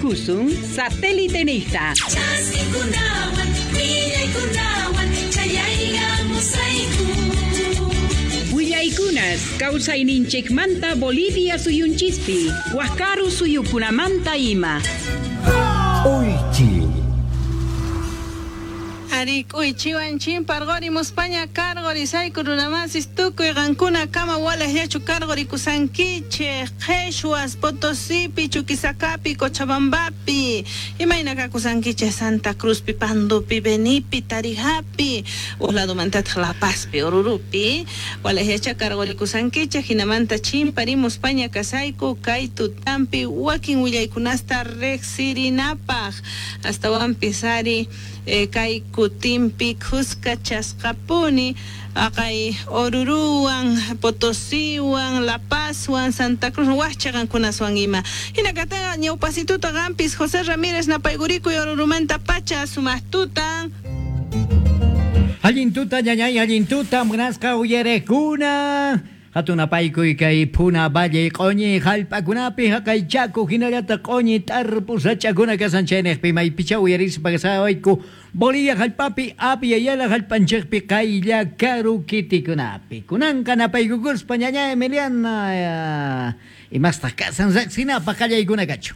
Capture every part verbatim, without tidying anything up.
Uyarikusun satélite nista. Willaykunas kawsayninchikmanta Bolivia suyunchispi, Wakaru suyukunamanta ima. Uychi. Ari k'uychiwan chimparqorimuspaña karqorisayku runamasis tukuy qankuna kama walaqllachu karqorikusankichej Qheshwas, Potosipi, Chuquisacapi, Cochabambapi, imayna kakusankichej Santa Cruzpi, Pandupi, Benipi, Tarijapi, uj ladomantataq La Pazpi, Orurupi, walaqllacha karqorikusankichej hinamanta chimparimuspaña kasayku kay tutampi wakin willaykunasta riqsirinapaq astawanpis ari eh, kay kutimpi khuskachasqapuni aqay Oruruwan, Potosiwan, La Pazwan, Santa Cruz wajcha qankunaswan ima. Hinakataqa ñawpasituta qampis José Ramírez napaygurikuy Orurumanta pacha sumaqtutan. Allin tuta ñañay, allin tuta munasqa uyarekuna. Hatun apaykuy kay Puna Valle q'uñi hallp'akunapi haqay chaku hinallataq q'uñi tarpu sach'akuna kasan chaynejpi maypicha uyarispa kasawayku Bolivia hallp'api Apyayala hallp'anchikpi qaylla karu kitikunapi. Kunanqa napaykukuspa ñaña Emiliana imastaq kasan riqsinapaq qallaykuna kachu.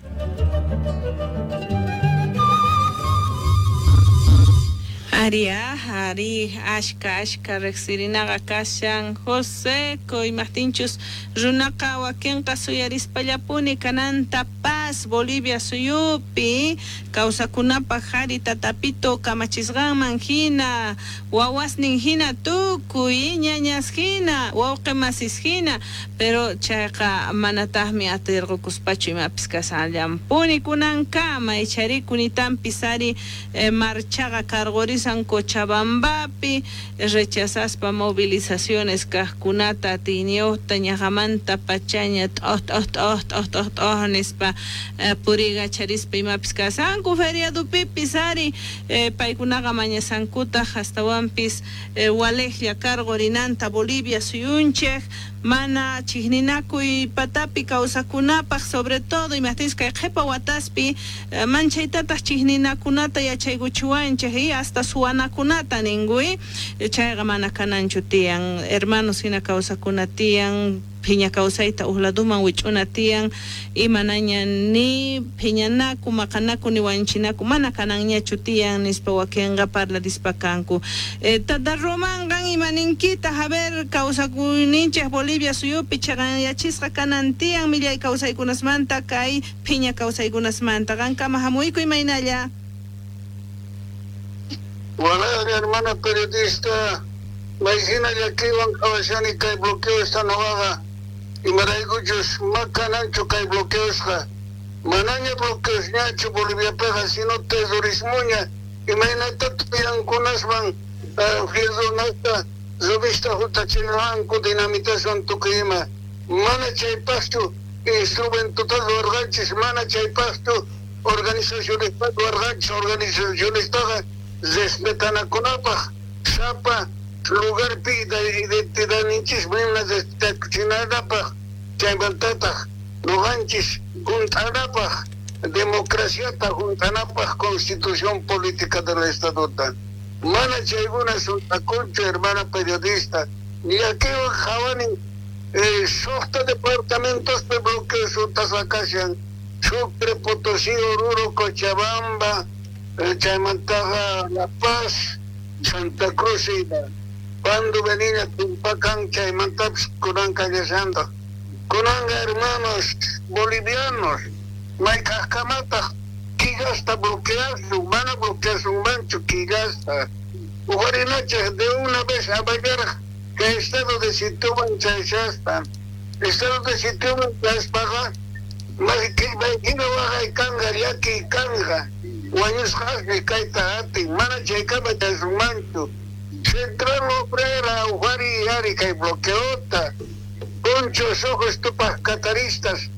Ari, ari, ashka, ashka, riqsirinaqa kashan José imaqtinchus runaqa wakinqa suyarispallapuni kananta paz Bolivia suyupi kawsakunapaq hari tatapito kamachisqanman hina wawasnin hina tukuy ñañas hina wawqi masis hina pero chayqa manataqmi atirqukuspachu imapis kasanllampuni kunankama icharikunitanpis ari eh, marchaqa karqurisan Cochabambapi rechazaspa movilizaciones kaqkunata atiyniyuqta ñaqamanta pachaña t'oj t'oj t'oj t'oj t'oj t'oj nispa eh, purigacharispa imapis kasanku feriadupipis ari eh, paykunaqa mañasankutaq astawanpis eh, walejlla karqurinanta Bolivia suyunchej mana chiqninakuy patapi kawsakunapaq sobre todo imaqtinchis kay qhipa wataspi eh, manchaytataq chiqninakunata yachaykuchiwanchej y hasta suwanakunata ninkuy chayqa mana kananchu tiyan hermanos hina kawsakuna tiyan phiña kawsayta uj laduman wich'una tiyan imanaña ni phiñanaku maqanaku ni wanchinaku mana kananñachu tiyan nispa wakinqa parlarispa kanku. Eh, tata Román qan imaninkitaq a ver kawsakuyninchej Bolivia suyupi chaqanyachisqa kanan tiyan millay kawsaykunasmanta kay phiña kawsaykunasmanta qankama hamuyku imaynalla. Hola, hermana periodista, maykina llakiywan qhawashani kay bloqueosta noqaqa imaraykuchus makananchu kay bloqueosqa manaña bloqueosñachu Boliviapiqa sino terrorismoña imaynata tuyankunaswan fierronasta revista huntachinwanku dinamitaswan tukuy ima mana chaypaqchu instrumentota ruwarqanchis mana chaypaqchu organizacionesta ruwarqanchis organizacionestaqa respetanakunapaq sapa lugarpi identidadninchis mana respetakuchinanapaq chaymantataq noqanchis hunt'anapaq democraciata hunt'anapaq constitución política del estadota mana chaykuna sunt'akunchu hermana periodista llakiwan qhawani eh, suqta departamentospi bloqueo suntasqa kashan Sucre, Potosí, Oruro, Cochabamba, chaymantaqa La Paz, Santa Cruz ima Pando Benina tumpakan chaymantapis kunan kallashantaq kunanqa hermanos bolivianos mayk'aqkamataq killasta bloqueasun mana bloqueasunmanchu killasta uqarinachej de una vez avallaraq kay estado de sitioman chayshaspa estado de sitioman chayaspaqa maykina waqay kanqa llakiy kanqa wañusqasmi kayta atin mana chaykama chaysunmanchu Central Obrera uqari ari kay bloqueota Ponchos ojos tupaq cataristas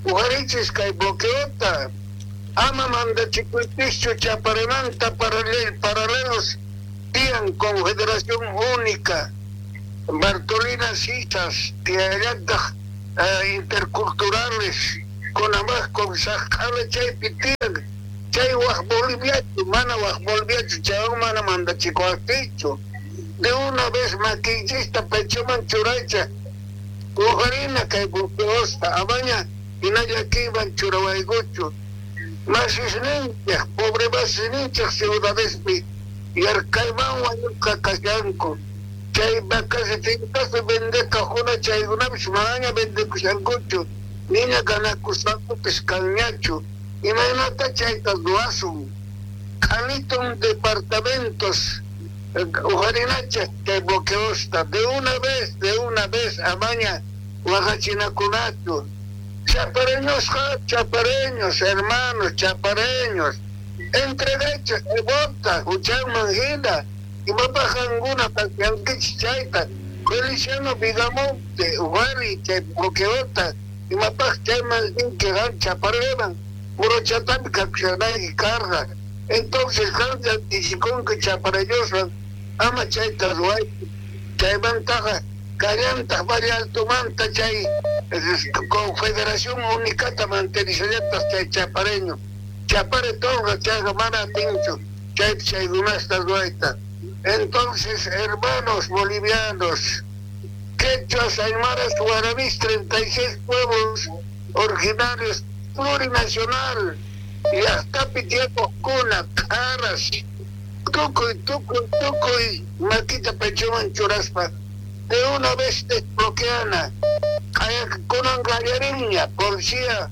uqarichis kay bloqueota ama mandachikuypischu chaparemanta paralel, paralelos tiyan Confederación Única Bartolina Sisas tiyallataq uh, interculturales Conamaq Consajqala chaypi tiyan chay waj Boliviachu mana waj Boliviachu chaywan mana mandachikuwaqtichu de una vez makinchista pechoman churaycha ujarina kay bloqueosta amaña hinalla churawaykuchu masisninchej pobre masisninchej ciudadespi yarkayman wañusqa kashanku chay vacas fincaspi vendekajuna chaykunapis manaña vendekushankuchu niña ganakusqankupis kanñachu imaynata chayta ruwasun qhalitun departamentos ujarinacha chay bloqueosta de una vez de una vez amaña waqachinakunachu chapareñosqa chapareños hermanos chapareños entregachej bota huchanman hina imapaj qankuna pasyankichik chayta Feliciano Vigamonte ujari chay bloqueota imapaj chayman rinki qan chapareman murochatami kakushanayki karqa entonces qan llatichikunki chapareñoswan ama chayta ruwaychu chaymantaqa kallantaq Valle Altomanta chay Confederación Unicata mantenishallataq chay chapareño chapare torqa chayqa mana atinchu chaypi chaykunasta ruwayta. Entonces, hermanos bolivianos, quechuas, aymaras, guaraníes, treinta y seis pueblos originarios, plurinacional, llaqtapi tiyakojkuna, q'aras, tukuy, tukuy, tukuy, makita pechoman churaspa, de una vez desbloqueana, kunan qallarinña, policía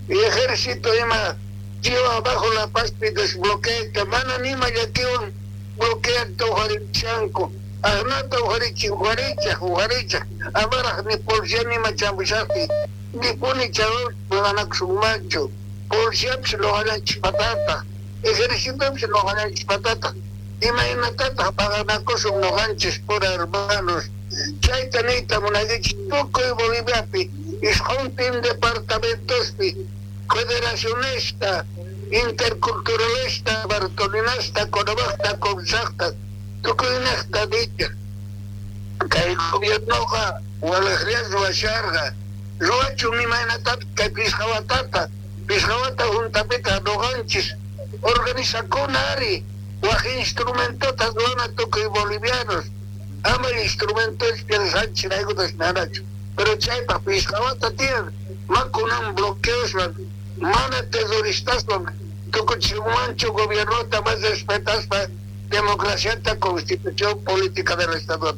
y ejército ima, lleva abajo La Paz y desbloquea, mana nima llakiwan bloqueanta ujarichanku, arnata ujarichin, ujarichaj, ujarichaj, amaraj ni policía nima chambushaqti, ni puni chavos maqanakusunmanchu, policiapis loqallanchis patata, ejercitopis loqallanchis patata, imaynatataq paganakusun noqanchis pura hermanos, chayta niyta munaykichis tukuy Boliviapi, isquntin departamentospi, federacionista, interculturalista, bartolinasta, Conabajta, Consajta, tukuynejta dicha. Kay gobiernoqa walejlla ruwasharqa, ruwachun imaynatapis kay pishqa watata, pishqa wata juntapita noqanchis organizakuna ari, waj instrumentota ruwana tukuy bolivianos, ama instrumentos piensanchiraykutas nanachu, pero chaypaq pishqa wata tiyan, makunan bloqueoswan, mana terroristaswan tukuchimanchu gobiernota más respetaspa democraciata constitución política del Estado.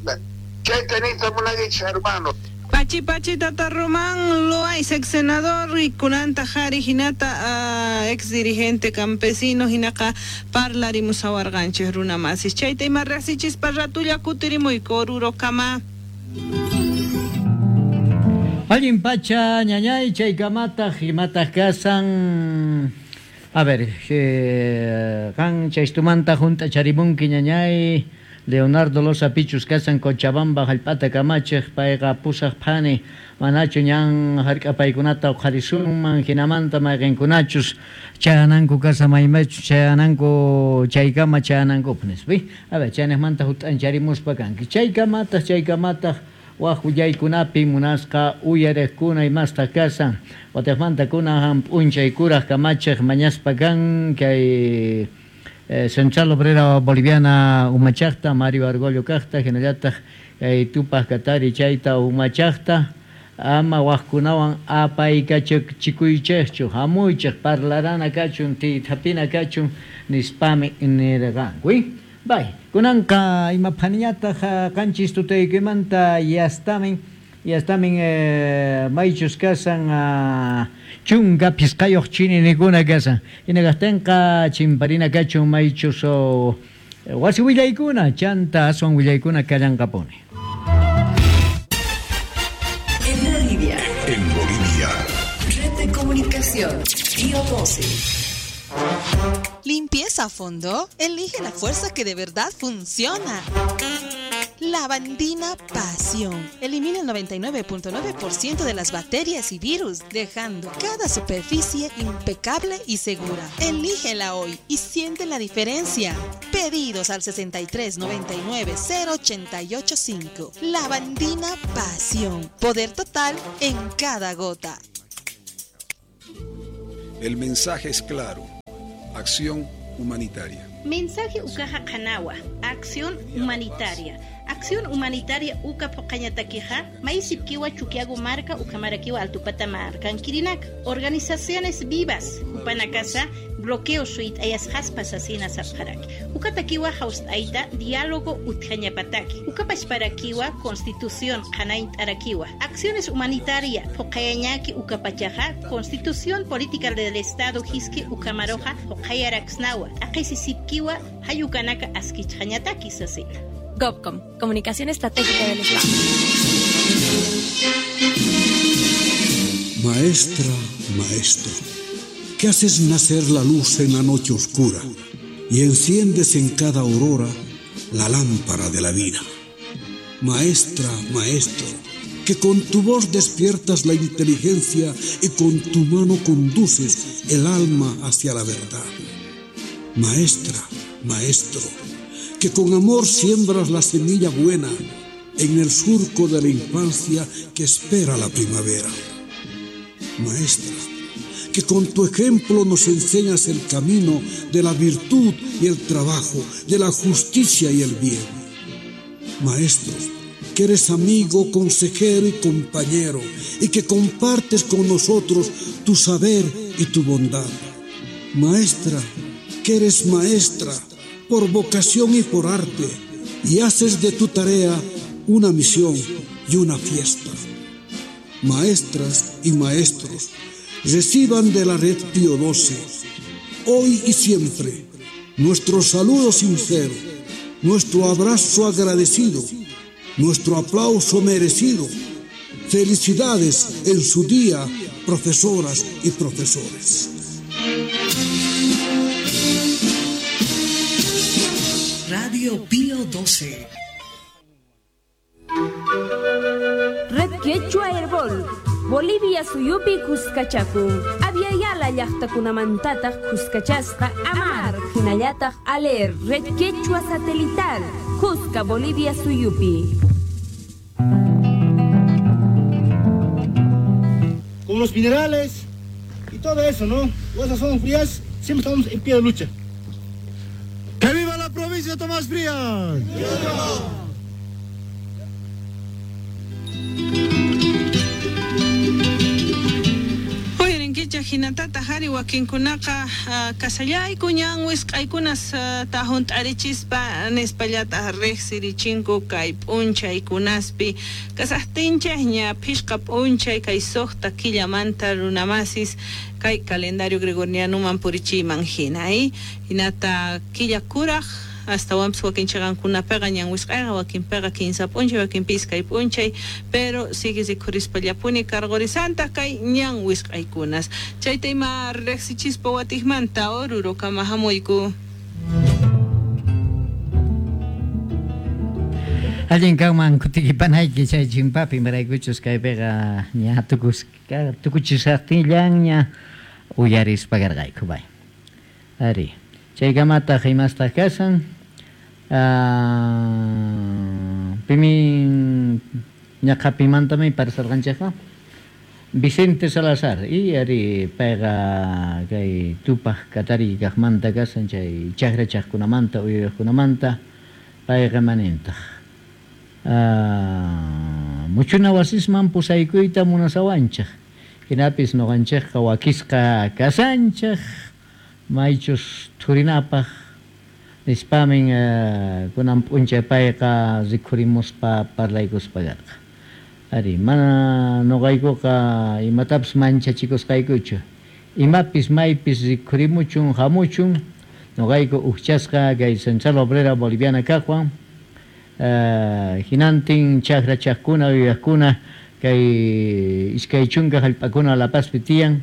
Chayta niyta munaykichis hermano. Pachi pachi tata Román Loaiza, ex senador y kunanta jari hinata uh, ex dirigente campesino hinaqa parlarimusawarqanchis runa masis chayta ima riqsichispa ratulla kutirimuyku Orurokama. Allin pacha ñañay chaykamataq imataq kasan. A ver, eh, qan chaystumanta junt'acharimunki ñañay Leonardo Loza Pichus kasan Cochabamba hallp'ata kamachiq payqa pusaq phani manachu ñan hark'apaykunata uqharisunman hinamanta mayqinkunachus chayananku kasa maymaychus chayananku chaykama chayanankupaq nispa. A ver, chaynejmanta jut'ancharimuspa kanki chaykamataq chaykamataq waj willaykunapi munasqa uyariqkuna imastaq kasan watejmanta kunan p'unchay kuraj kamachiq mañaspa kan kay eh, Central Obrera Boliviana umachaqta Mario Argollo kaqta hinallataq kay Tupaq Katari chayta umachaqta ama wajkunawan apaykachikuychejchu hamuychej parlarana kachun tiythapina kachun nispami nirqanku. Bay, kunanqa ima phaniñataq qanchis tutaykimanta yastamin yastamin eh, maychus kasan uh, chunka phisqayuq chininikuna kasan hinaqtinqa chimparina kachun maychus oh, wasi willaykuna chanta aswan willaykuna kallanqapuni. En Bolivia. En Bolivia. Red de Comunicación. Río doce. Limpieza a fondo. Elige la fuerza que de verdad funciona. Lavandina Pasión. Elimina el noventa y nueve punto nueve por ciento de las bacterias y virus, dejando cada superficie impecable y segura. Elígela hoy y siente la diferencia. Pedidos al sesenta y tres noventa y nueve cero ochenta y ocho cinco. Lavandina Pasión. Poder total en cada gota. El mensaje es claro. Acción humanitaria. Mensaje ukaja qanawa, acción humanitaria. Acción humanitaria uka poqañatakija, maisipkiwa chukiago marca ukamarakiwa altupata marcan kirinak. Organizaciones vivas, upanakasa, bloqueo suit ayas jaspas asina sapjaraki. Ukatakiwa aita diálogo utjañapataki. Ukapachparakiwa constitución qanaint arakiwa. Acciones humanitaria, poqayañaki ukapachaja, constitución política del Estado hiski ukamaroja, poqayaraksnawa. Aqisisipkiwa hayukanaka askichjañataki sasina. GovCom, Comunicación Estratégica del Estado. Maestra, maestro, que haces nacer la luz en la noche oscura y enciendes en cada aurora la lámpara de la vida. Maestra, maestro, que con tu voz despiertas la inteligencia y con tu mano conduces el alma hacia la verdad. Maestra, maestro, que con amor siembras la semilla buena en el surco de la infancia que espera la primavera. Maestra, que con tu ejemplo nos enseñas el camino de la virtud y el trabajo, de la justicia y el bien. Maestro, que eres amigo, consejero y compañero, y que compartes con nosotros tu saber y tu bondad. Maestra, que eres maestra por vocación y por arte, y haces de tu tarea una misión y una fiesta. Maestras y maestros, reciban de la Red Pío doce, hoy y siempre, nuestro saludo sincero, nuestro abrazo agradecido, nuestro aplauso merecido. Felicidades en su día, profesoras y profesores. Radio Pío doce. Red Quechua Herbol, Bolivia suyupi Cuscachaku, Aviala llaqtakunamantataq Cuscachasqa Amar, hinallataq Aler, Red Quechua Satelital, Cusca, Bolivia suyupi. Con los minerales y todo eso, ¿no? O esas zonas frías, siempre estamos en pie de lucha. ¡Que viva la provincia de Tomás Frías! ¡Viva! Hinatata hari wakinkunaqa kasallayku ñan wisq'aykunas tahunt'arichispa nispallata riqsirichinku kay p'unchaykunaspi kasaqtinchikña phishqa p'unchay kay suqta killamanta runamasis kay calendario gregorianoman purichiyman hina hinata killa kuraq astawanpis wakinchiqankunapiqa ñan wisq'ayqa wakinpiqa kinsa p'unchay wakinpi iskay p'unchay pero sigue rikhurispallapuni cargorisanta kay ñan wisq'aykunas chayta ima riqsichispa watiqmanta Orurokama hamuyku. Allin kanman kutikipanayki chay chimpapi imaraykuchus kaypiqa ña tukusqa tukuchisaqtinllaña uyarispa karqayku bay. Ari chaykamataq imastaq kasan pimin ñaqapimantami parsarqanchikqa Vicente Salazar y ari payqa kay tupaq katari kaqmanta kasan chay chakrachaqkunamanta uywaqkunamanta payqa manintaq muchuna wasisman pusaykuyta munasawanchik hinapis nuqanchikqa wakisqa kasanchik maychus thurinapaq nispamin kunan p'unchay payqa rikhurimuspa parlaykuspa karqa. Ari mana nuqaykuqa imatapis manchachikusqaykuchu imapis maypis rikhurimuchun hamuchun nuqayku ukchasqa kay Central Obrera Boliviana kaqwan hinantin chakrachaqkuna uywaqkuna kay iskay chunka hallp'akuna La Pazpi tiyan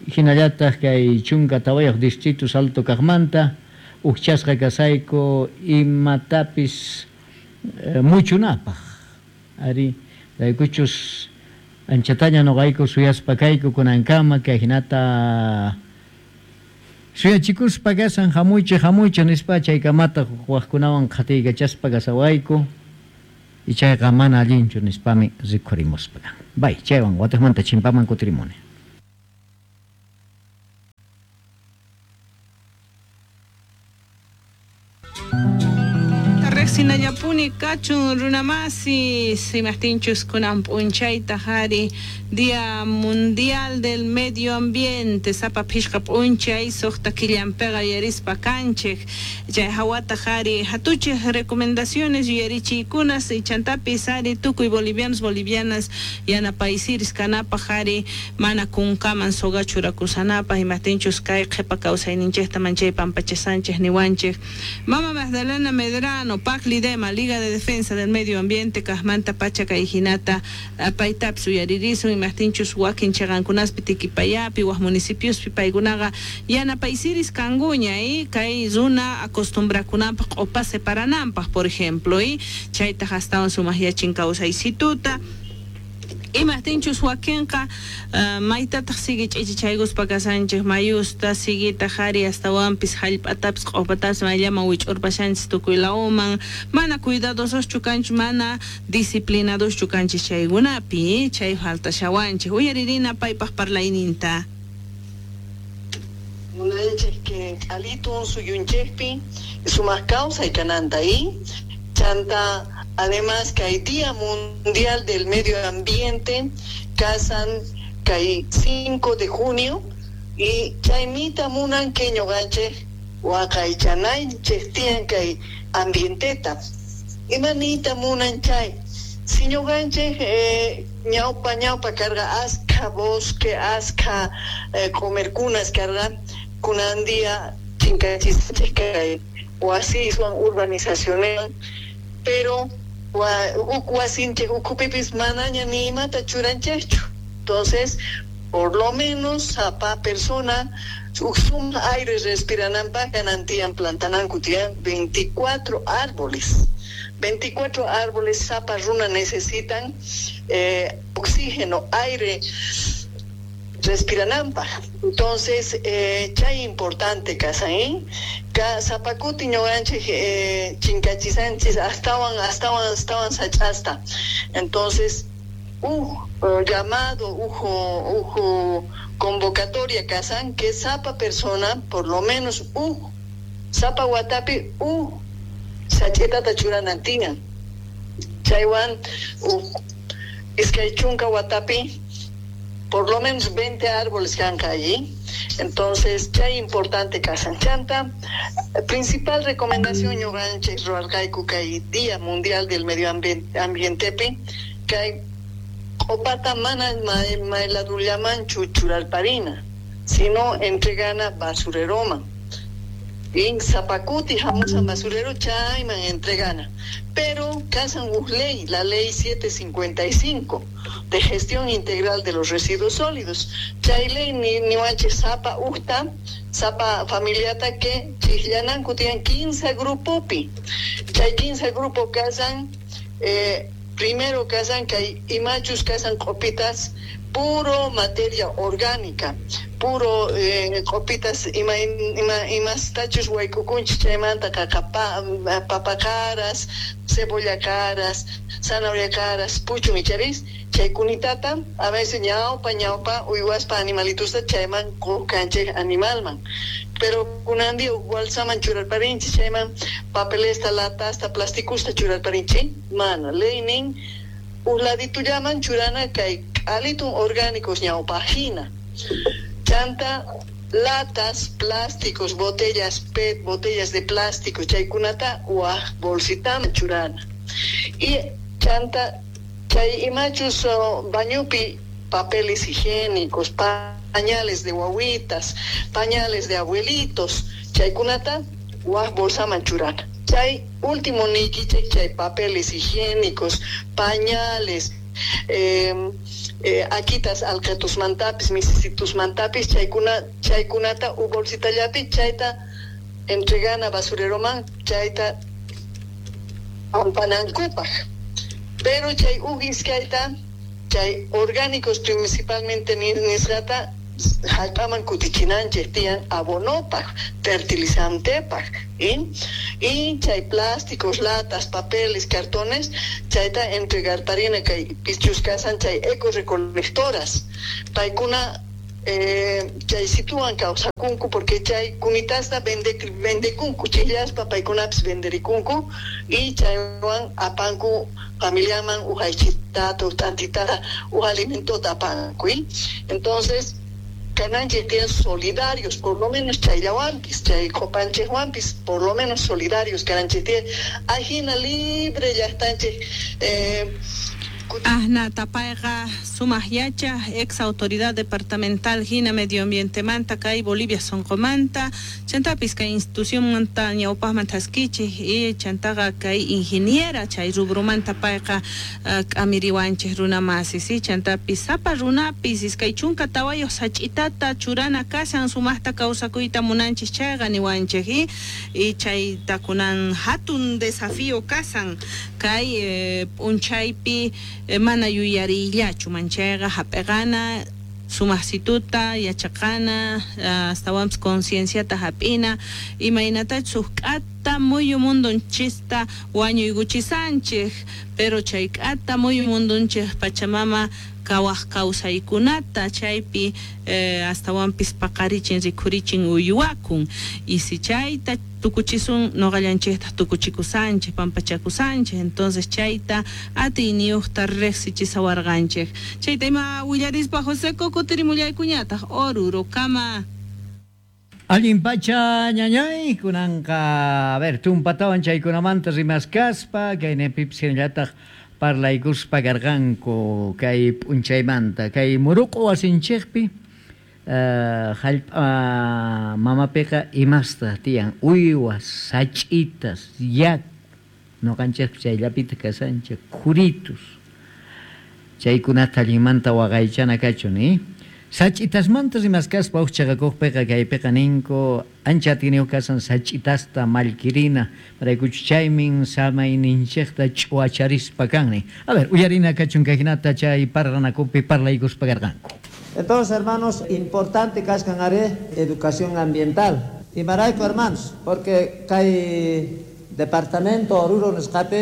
hinallataq kay chunka tawayuq distrito Salto kaqmanta ukchasqa kasayku imatapis muchunapaq ari raykuchus anchataña nuqayku suyaspa kayku kunankama kay hinata suyachikuspa kasan hamuychik hamuychik nispa chaykamataq waqkunawan qhatiykachaspa kasawayku ichayqa mana allinchu nispami rikhurimuspa. Bay, chaywan watiqmanta chimpaman kutirimuni. Hinallapuni kachun runamasi imajtinchus kunan p'unchayta hari Día Mundial del Medio Ambiente sapa phishqa p'unchay suqta killanpiqa yuyarispa kanchik chay hawata hari hatuchik recomendaciones yuyarichiykunas chantapis hari tukuy bolivianos bolivianas yanapaysiris kanapaq hari mana kunkaman soga churakusanapaq imajtinchus kay qhipa kawsayninchikta manchay pampachasanchik niwanchik. Mama Magdalena Medrano, Paclidema, Liga de Defensa del Medio Ambiente, kajmanta pacha kay hinata paytapis uyaririsun imajtinchus wakin chaqankunaspi Tiquipayapi waj municipiospi paykunaqa yanapaysiris kankuña y kay runa acostumbrakunanpaq q'upa separananpaq por ejemplo y chaytaq astawan sumaqyachin kawsaysituta. Imajtinchus wakinqa uh, maytataq sigui ch'ichichaykuspa kasanchik mayusta siguita hari astawanpis hallp'atapis q'upatapis mayllaman wich'urpashanchis tukuy lawman mana cuidadososchu kanchik mana disciplinadoschu kanchik chaykunapi chay faltashawanchik uyaririna paypaq parlayninta. Munanchik que alitun suyunchikpi sumaq kawsay kananta y chanta. Además, que hay Día Mundial del Medio Ambiente, casan que hay cinco de junio, y chaymita munan que ñoqanchik waqaychananchik tiyan kay ambienteta. Imanita munan chay. Si ñoqanchik eh, ñawpa ñawpa carga aska bosque, aska eh, comerkunas carga, kunan día chinkachisachik kay wasiswan urbanizaciones, pero huk wasinchik ukhupipis manaña ni imata churanchikchu. Entonces, por lo menos sapa persona sum aire respirananpaq kanantiyan plantananku tiyan veinticuatro árboles. veinticuatro árboles sapa runa necesitan eh, oxígeno, aire respirananpaq. Entonces, eh, chay importante kasain, ka sapakuti ñuqanchik eh, chinkachisanchis astawan astawan astawan sach'asta. Entonces, uj llamado, uj uj convocatoria kasan que sapa persona por lo menos uj sapa watapi uj sach'itata churanan tiyan. Chaywan uj iskay chunka watapi por lo menos veinte árboles kanka allí. Entonces, chay importante kasan chanta. Principal recomendación ñuqanchik ruwarqayku kay Día Mundial del Medio Ambientepi kay q'upata mana mayladullamanchu churarparina, sino entregana basureroman. In sapakuti hamusan basurero chayman entregana. Pero kasan uj ley, la ley siete cincuenta y cinco de gestión integral de los residuos sólidos. Chay ley ni niwanchik sapa ujta, sapa familiata que chijllananku tiyan quince grupopi. Chay quince grupo kasan, eh, primero kasan kay imachus kasan q'upitas puro materia orgánica, puro eh, q'upitas ima ima imastachus wayk'ukunchik chaymanta qaqa papa caras, cebolla caras, zanahoria caras, puchun icharis, chaykunitata a veces ñawpa ñawpa uywaspa animalitusta chayman qukanchik animalman. Pero kunandi bolsaman churarparinchik chayman papelesta, latasta, plasticusta churarparinchik, mana leynin uladitullaman churana kay alitun orgánicos ñawpajina. Chanta latas, plásticos, botellas P E T, botellas de plástico, chaykunata waj bolsitaman churana. Y chanta chay imachus oh, bañupi papeles higiénicos, pañales de wawitas, pañales de abuelitos, chaykunata waj bolsaman churana. Chay último nikichik chay papeles higiénicos, pañales, eh, eh, akitas alqatusmantapis, misisitusmantapis, chaykuna chaykunata u bolsitallapi chayta entregana basureroman, chayta pampanankupaq. Pero chay uj iskayta, chay orgánicos principalmente nisqata hallp'aman kutichinanchik tiyan abonopaq, fertilizantepaq, y, y chay plásticos, latas, papeles, cartones, chayta entregarparina kay pichus kasan chay ecorecolectoras, paykuna eh, chay situan kawsakunku porque chay kunitasta vende vendekunku chillaspa paykunapis venderikunku y chaywan apanku familiaman ujaychitata utantitata uj alimentota apanku. Entonces kananchik tiyan solidarios, por lo menos chayllawanpis, chay qopanchikwanpis, por lo menos solidarios kananchik tiyan, ajina libre llaqtanchik. Eh, Ahna tapayqa sumaq yacha ex autoridad departamental hina medioambientemanta kay Bolivia sonqomanta chantapis kay institucionmanta ñawpaqman thaskichik y chantaqa kay ingeniera chay rubrumanta payqa k'amiriwanchik runa masi si chantapis sapa runapis iskay chunka tawayuq sach'itata churana kashan sumaqta kawsakuyta munanchik chayqa niwanchik y, y chayta kunan hatun desafío kasan kay eh, p'unchaypi mana yuyarillachu manchayqa hap'iqana sumaqsituta yachaqana astawanpis concienciata hap'ina imaynatachus huk k'ata muyu mundunchista wañuykuchisanchik pero chay k'ata muyu mundunchik Pachamama kawaq kawsaykunata chaypi eh, astawanpis paqarichin rikhurichin uywakun y si chayta tukuchisun noqallanchikta tukuchikusanchik pampachakusanchik entonces chayta atiyniyuqta riqsichisawarqanchik chayta ima willarispa Joseco kutirimullaykuñataq Orurokama. Allin pacha ñañay kunanqa a ver tumpatawan chaykunamanta rimaskaspa kaynapipis hinallataq parlaykuspa karqanku kay p'unchaymanta kay muruqu wasinchikpi uh, jallp'a mamapiqa imasta tiyan uywas sach'itas yaku noqanchikpi chayllapita kasanchik khuritus chaykunata allinmanta waqaychana kachun eh? Sach'itasmanta rimaskaspa huk chaqakuqpiqa kaypiqa ninku ancha atiyniyuq kasan sach'itasta mallkirina paraykuchu chaymin samayninchikta ch'uwacharispa kanni. A ver, uyarina kachun kayhinata chay parranakupi parlaykuspa karqanku. Entonces, hermanos, importante kaskan are educación ambiental. Imarayku, hermanos, porque kay departamento Oruro nisqapi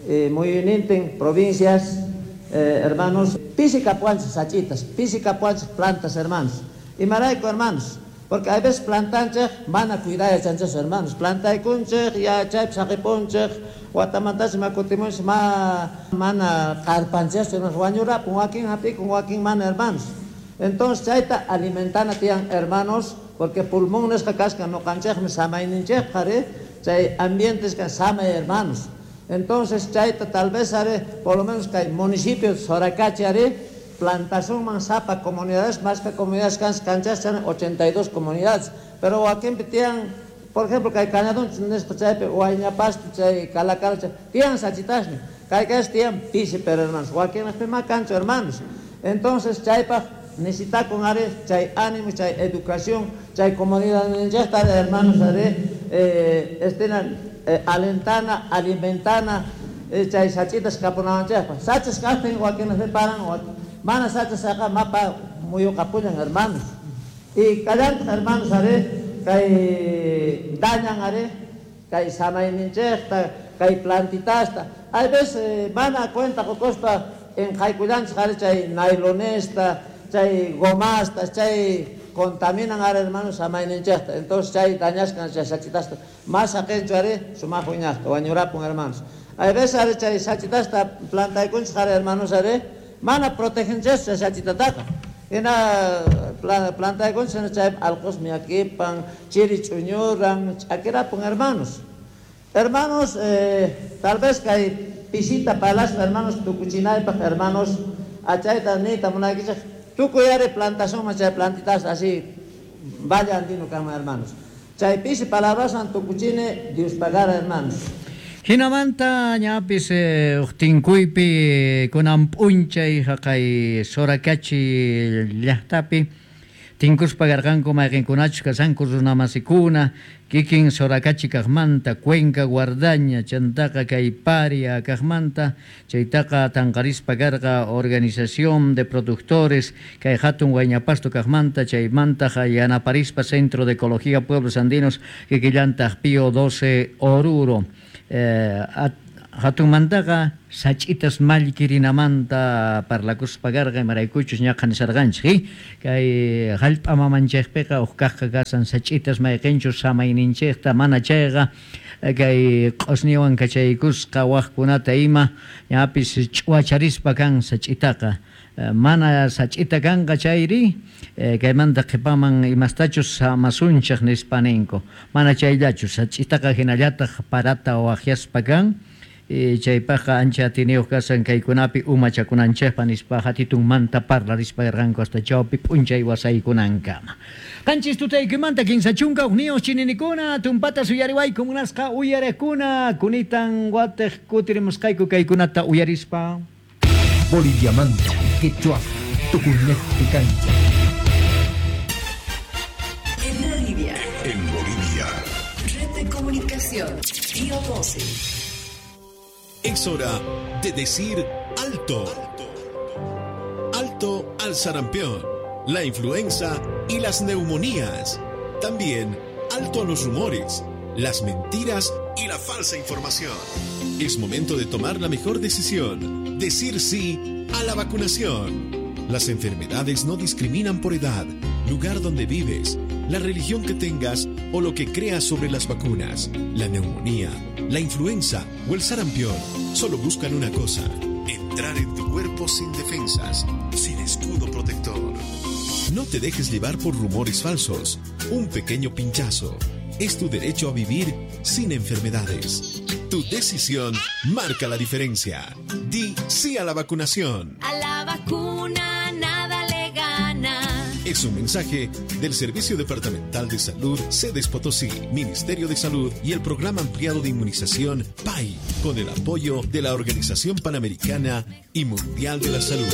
eh, muyunintin provincias eh, hermanos, pisi kapuanchis sachitas, pisi kapuanchis plantas, hermanos. Imarayku, hermanos, porque hay veces plantanchik mana cuidayachanchis, hermanos. Plantaykunchik, ya chaypi saqipunchik, watamantachi makutimunchik ma mana qarpanchis, hermanos, wañurapun wakin hap'ikun wakin mana, hermanos. Entonces chayta alimentana tiyan, hermanos, porque pulmón nisqa kaskan noqanchikmi samayninchikqa qhari, chay ambientes kan samay, hermanos. Entonces chayta tal vez haré, por lo menos que hay municipios Soracachi haré, plantación sapa comunidades, más que comunidades canchas, ochenta y dos comunidades, pero aquí tienen, por ejemplo, que hay Cañadón, chaypi, Huayñapasto, chay Calacal, tienen sachitasni, que hay tienen pisi, pero hermanos, huaquín más cancho, hermanos. Entonces chaypa necesita con are, chay ánimo, chay educación, chay comunidad, hermanos, haré, eh, estén Eh, alentana, alimentana, eh, chay sachitas kapunawanchikpa. Sachas kaqtin wakinaq paran, mana sachas saqa mapa muyuqapullan, hermanos. Y kallantaq, hermanos, are, kay dañan are, kay samayninchikta, kay plantitasta. Hay veces eh, mana cuenta qokuspa enqaykullanchik are chay nailonesta, chay gomasta, chay contaminan ahora, hermanos, samayninchikta. Entonces chay dañaskan chay sachitasta. Más aqinchu are sumaq wiñaqta wañurapun, hermanos. Hay veces are chay sachitasta plantaykunchik are, hermanos, are mana protegenchis chay sachitataqa. Hina plantaykunchik chay alqus miyakipan, chiri ch'uñuran, ch'akirapun, hermanos. Hermanos, eh, tal vez kay pisita palaspa, hermanos, tukuchinaypaq, hermanos, achayta niyta munaykichik tukuy are plantación chay plantitas así vaya andino kama, hermanos. Chay pisi palabrasan tukuchine Dios pagara, hermanos. Hinamanta ñapis eh, uqtinkuypi kunan p'unchay haqay Soracachi llaqtapi tinkuspa karqanku mayqinkunachus kasanku runamasikuna kikin Soracachi kaqmanta Cuenca Guardaña chantaqa kay Paria kaqmanta chaytaqa tanqarispa karqa organización de productores kay hatun Huayñapasto kaqmanta chaymantaqa yanaparispa Centro de Ecología Pueblos Andinos kikillantaq Pío doce Oruro eh, at, Hatunmantaqa sach'itas mallkirinamanta parlakuspa karqa imaraykuchus ñaqa nisarqanchik kay hallp'a mamanchikpiqa uj kaqqa kasan sach'itas mayqinchus samayninchikta mana chayqa kay q'usniwan kachaykusqa waqkunata ima ñapis ch'uwacharispa kan sach'itaqa mana sach'ita kanqa chayri kaymanta qhipaman imastachus samasunchik nispa ninku mana chayllachu sach'itaqa hinallataq parata waqyaspa kan chaypaqqa ancha atiniyuq kasan kaykunapi umachakunanchikpa nispa hatitunmanta parlarispa karqanku hasta chawpi p'unchay wasaykunankama. Qanchis tutaykimanta kinsa chunka hukniyuq chininikuna tumpata suyariwayku munasqa uyarekuna kunitan watiq kutirimusqayku kaykunata uyarispa. Boliviamanta Quechua Tucunejpi kancha. En Bolivia. En Bolivia. Red de comunicación. Río doce. Es hora de decir alto. Alto al sarampión, la influenza y las neumonías. También alto a los rumores, las mentiras y la falsa información. Es momento de tomar la mejor decisión. Decir sí a la vacunación. Las enfermedades no discriminan por edad, lugar donde vives, la religión que tengas o lo que creas sobre las vacunas. La neumonía, la influenza o el sarampión solo buscan una cosa: entrar en tu cuerpo sin defensas, sin escudo protector. No te dejes llevar por rumores falsos. Un pequeño pinchazo es tu derecho a vivir sin enfermedades. Tu decisión marca la diferencia. Di sí a la vacunación. A la vacuna nada le gana. Es un mensaje del Servicio Departamental de Salud, Sedes Potosí, Ministerio de Salud y el Programa Ampliado de Inmunización P A I, con el apoyo de la Organización Panamericana y Mundial de la Salud.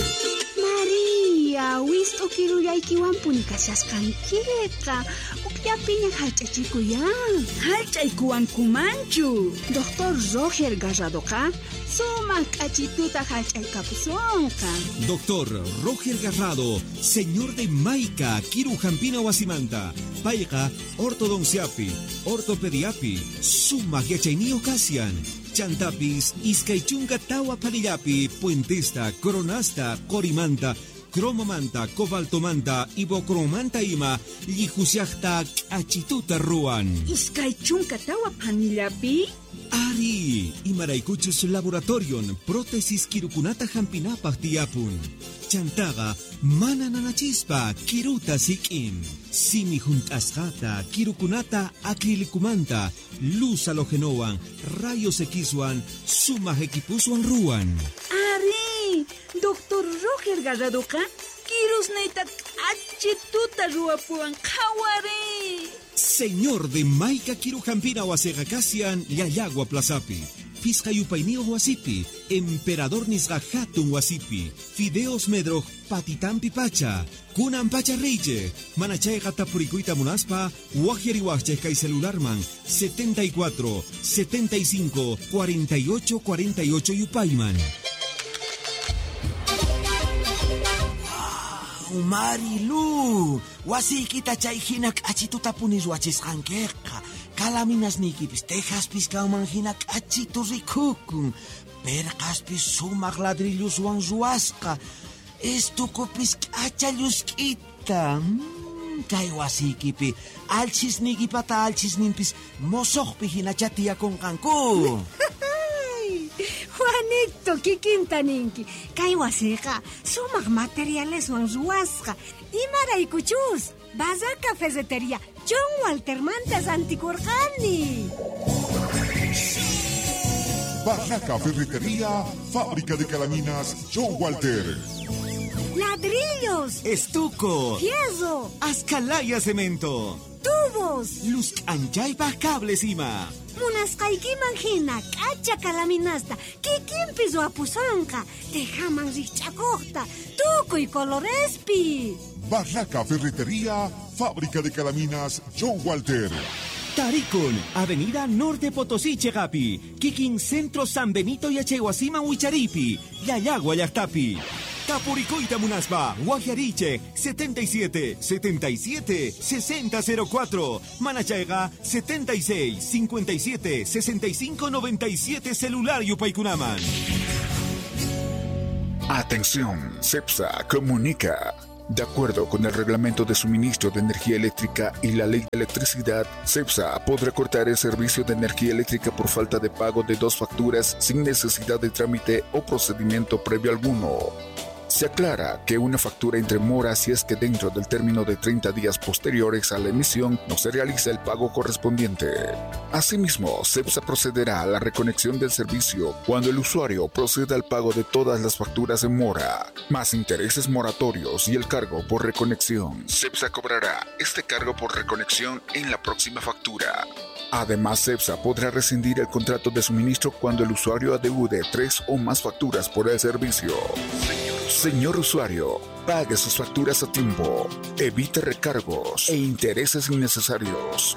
María, wist'u kirullaykiwanpuni kashasqankiqa. Ukllapiña hallch'achikuyan. Hallch'aykuwankumanchu. Doctor Roger Garradoqa sumaq k'achituta hallch'aykapusunqa. Doctor Roger Garrado, señor de Maica, Kiru Jampina Wasimanta, Payqa, ortodonciapi, ortopediapi, sumaq yachayniyuq kasian. Chantapis, iskay chunka tawa panillapi, puentesta, coronasta, corimanta, cromomanta, cobaltomanta, ibocromanta ima, llijusiajta, k'achituta ruwan. Iskay chunka tawa panillapi? Ari, imaraykuchus laboratorion, prótesis kirukunata hampinapaq tiyapun. Chantaqa, mana nanachispa, kiruta sik'in. Simi junt'asqata, kirukunata acrilicumanta, luz halogenowan, rayos Xwan, sumaq equipuswan ruwan. Ari, Doctor Roger Garradoqa, kirusniyta k'achituta ruwapuwan qhawari. Señor de Maica Kirujampina wasiqa kasian Llallagua Plazapi, Pisqa yupayniyuq wasipi, Emperador nisqa hatun wasipi, Fideos Medroj patitampi pacha, kunan pacha reyche, manachayqa tapurikuyta munaspa, waqyariwaqchej kay celularman setenta y cuatro, setenta y cinco, cuarenta y ocho, cuarenta y ocho yupayman. Marilu, wasiykita chay hina k'achituta puni ruwachisqankiqa. Kalaminasniykipis tejaspis kanman hina k'achitu rikukun. Perqaspis sumaq ladrilluswan ruwasqa. Estukupis k'acha llusk'ita. Mm, kay wasiykipi alchisniykipata alchisninpis mosoqpi hinacha tiyakunqanku. Juanito, kikinta ninki. Kay wasiqa sumaq materialeswan ruwasqa. Imaraykuchus, Barraca Ferretería, John Waltermanta rantikurqani. Barraca Ferretería, fábrica de calaminas John Walter. Ladrillos, estuco, fierro, ascalaya cemento, tubos, luz anchaypaj cables ima. Munasqaykiman hina k'acha kalaminasta kikinpi ruwapusonqa, tejaman rikch'akuqta, tukuy colorespi. Barraca Ferretería, fábrica de calaminas John Walter. Tarikun, Avenida Norte Potosí, Chegapi, Kikin Centro San Benito y Achehuasima Huicharipi, Llallagua Llaqtapi. Tapurikuyta munaspa, waqyariychik setenta y siete, setenta y siete, sesenta cero cuatro, Manachayqa setenta y seis, cincuenta y siete, sesenta y cinco, noventa y siete celular yupaykunaman. Atención, CEPSA comunica. De acuerdo con el reglamento de suministro de energía eléctrica y la ley de electricidad, CEPSA podrá cortar el servicio de energía eléctrica por falta de pago de dos facturas sin necesidad de trámite o procedimiento previo alguno. Se aclara que una factura entre mora si es que dentro del término de treinta días posteriores a la emisión no se realiza el pago correspondiente. Asimismo, CEPSA procederá a la reconexión del servicio cuando el usuario proceda al pago de todas las facturas en mora, más intereses moratorios y el cargo por reconexión. CEPSA cobrará este cargo por reconexión en la próxima factura. Además, CEPSA podrá rescindir el contrato de suministro cuando el usuario adeude tres o más facturas por el servicio. Señor usuario, pague sus facturas a tiempo, evite recargos e intereses innecesarios.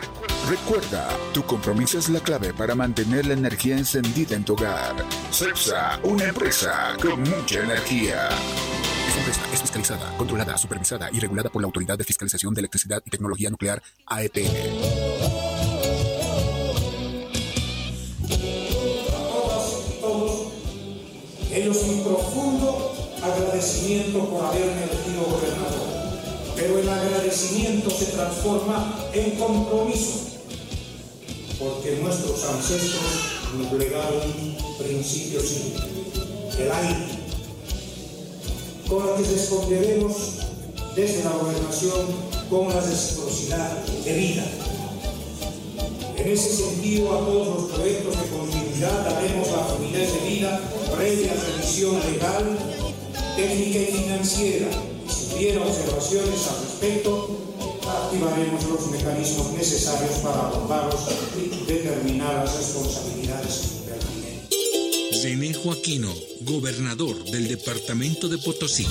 Recuerda, tu compromiso es la clave para mantener la energía encendida en tu hogar. CEPSA, una empresa con mucha energía. Esta empresa es fiscalizada, controlada, supervisada y regulada por la Autoridad de Fiscalización de Electricidad y Tecnología Nuclear, A E T N. A todas y todos, ellos mi profundo agradecimiento por haberme elegido gobernador, pero el agradecimiento se transforma en compromiso, porque nuestros ancestros nos legaron un principio simple, el aire, con el que responderemos desde la gobernación con la reciprocidad debida. En ese sentido, a todos los proyectos de continuidad daremos la fluidez debida previa revisión legal, técnica y financiera. Si hubiera observaciones al respecto, activaremos los mecanismos necesarios para abordarlos y determinar las responsabilidades pertinentes. René Joaquino, gobernador del departamento de Potosí.